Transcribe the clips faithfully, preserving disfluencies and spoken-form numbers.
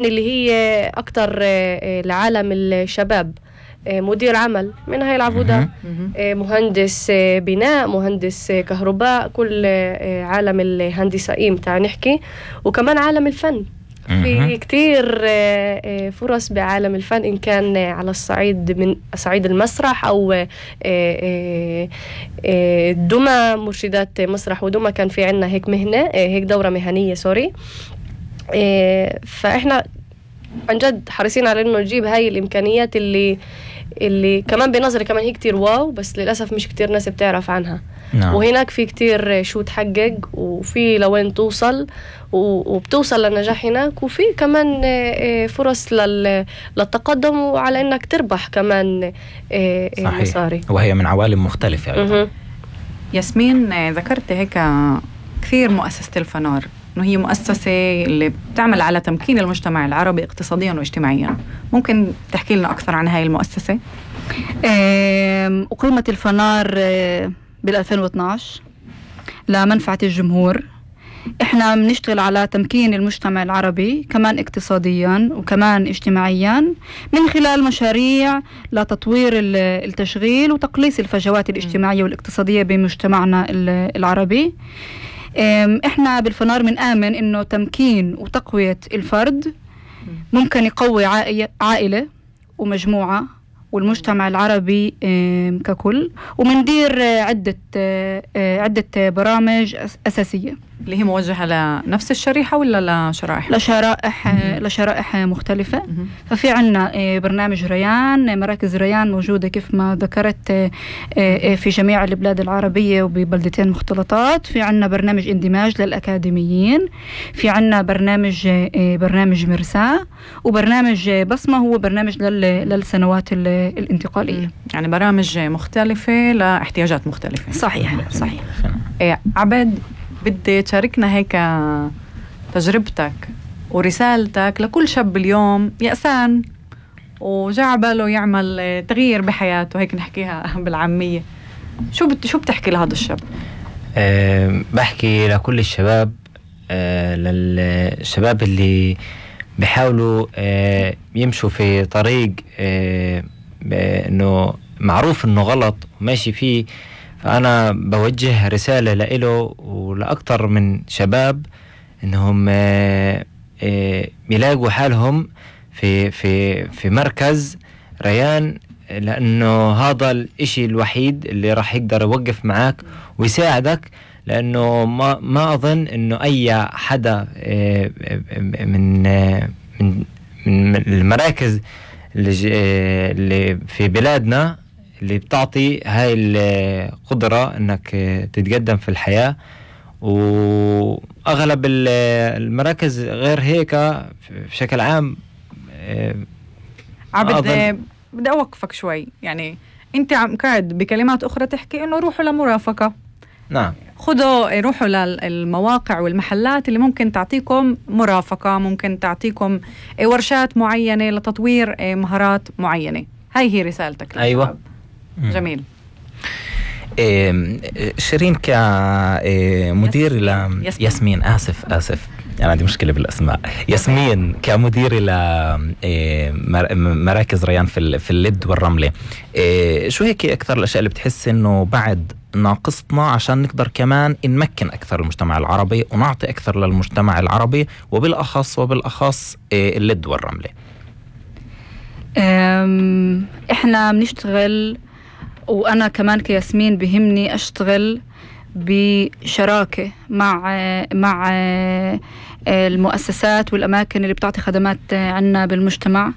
اللي هي أكتر لعالم الشباب، مدير عمل من هاي العبودة، مهندس بناء، مهندس كهرباء، كل عالم الهندسائيين تعال نحكي، وكمان عالم الفن. في كتير فرص بعالم الفن، إن كان على الصعيد من صعيد المسرح أو دمى، مرشدات مسرح ودمى كان في عنا هيك مهنة، هيك دورة مهنية سوري. فإحنا عن جد حريصين على إنه نجيب هاي الإمكانيات اللي اللي كمان بنظري كمان هي كتير واو، بس للأسف مش كتير ناس بتعرف عنها. نعم. وهناك في كتير شو تحقق، وفي لوين توصل، وبتوصل للنجاح هناك، وفي كمان فرص للتقدم وعلى إنك تربح كمان مصاري. وهي من عوالم مختلفة أيضا. ياسمين، ذكرت هيك كثير مؤسسة الفنار إنه هي مؤسسة اللي بتعمل على تمكين المجتمع العربي اقتصاديا واجتماعيا. ممكن تحكي لنا أكثر عن هاي المؤسسة؟ أقيمت الفنار بالألفين واثناشر لمنفعة الجمهور. إحنا بنشتغل على تمكين المجتمع العربي كمان اقتصاديا وكمان اجتماعيا من خلال مشاريع لتطوير التشغيل وتقليص الفجوات الاجتماعية والاقتصادية بمجتمعنا العربي. إحنا بالفنار بنآمن إنه تمكين وتقوية الفرد ممكن يقوي عائلة ومجموعة والمجتمع العربي ككل، ومندير عدة عدة برامج أساسية اللي هي موجهة لنفس الشريحة ولا لشرائح؟ لشرائح لشرائح مختلفة. ففي عنا برنامج ريان، مراكز ريان موجودة كيف ما ذكرت في جميع البلاد العربية وببلدتين مختلطات. في عنا برنامج اندماج للأكاديميين، في عنا برنامج برنامج مرساة، وبرنامج بصمة هو برنامج للسنوات الانتقالية. يعني برامج مختلفة لاحتياجات مختلفة. صحيح صحيح. إيه عبد، بدي تشاركنا هيك تجربتك ورسالتك لكل شاب اليوم يأسان وجاء باله يعمل تغيير بحياته، هيك نحكيها بالعامية. شو بت شو بتحكي لهذا الشاب؟ أه بحكي لكل الشباب، أه للشباب اللي بيحاولوا أه يمشوا في طريق أه إنه معروف إنه غلط وماشي فيه. فأنا بوجه رسالة لإله ولأكثر من شباب إنهم يلاقوا حالهم في في في مركز ريان، لأنه هذا الإشي الوحيد اللي راح يقدر يوقف معك ويساعدك. لأنه ما ما أظن إنه أي حدا من من من المراكز اللي في بلادنا اللي بتعطي هاي القدرة انك تتقدم في الحياة. واغلب المراكز غير هيك بشكل عام. عبد، بدي اوقفك شوي. يعني انت عم قاعد بكلمات اخرى تحكي انه روحوا لمرافقة. نعم، خذوا روحوا للمواقع والمحلات اللي ممكن تعطيكم مرافقة، ممكن تعطيكم ورشات معينة لتطوير مهارات معينة. هاي هي رسالتك. ايوه، جميل. إيه شيرين كمدير ل ياسمين. ياسمين آسف آسف أنا عندي مشكلة بالأسماء. ياسمين كمدير إلى مراكز ريان في في اللد والرملة، إيه شو هيك أكثر الأشياء اللي بتحس إنه بعد ناقصتنا عشان نقدر كمان نمكن أكثر المجتمع العربي ونعطي أكثر للمجتمع العربي وبالأخص وبالأخص إيه اللد والرملة؟ إحنا بنشتغل، وأنا كمان كياسمين بهمني أشتغل بشراكة مع مع المؤسسات والأماكن اللي بتعطي خدمات عنا بالمجتمع.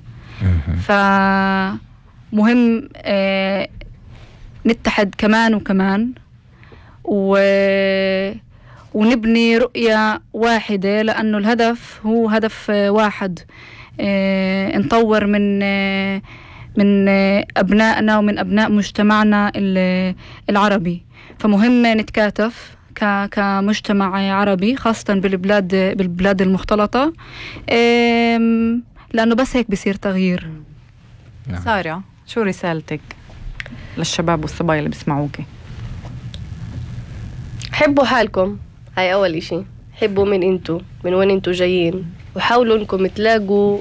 فمهم نتحد كمان وكمان ونبني رؤية واحدة، لأنه الهدف هو هدف واحد، نطور من من أبنائنا ومن أبناء مجتمعنا العربي. فمهم نتكاتف كمجتمع عربي، خاصة بالبلاد بالبلاد المختلطة، لأنه بس هيك بيصير تغيير. سارة، شو رسالتك للشباب والصبايا اللي بيسمعوك؟ حبوا حالكم، هاي أول إشي. حبوا من انتو، من وين انتو جايين، وحاولوا انكم تلاقوا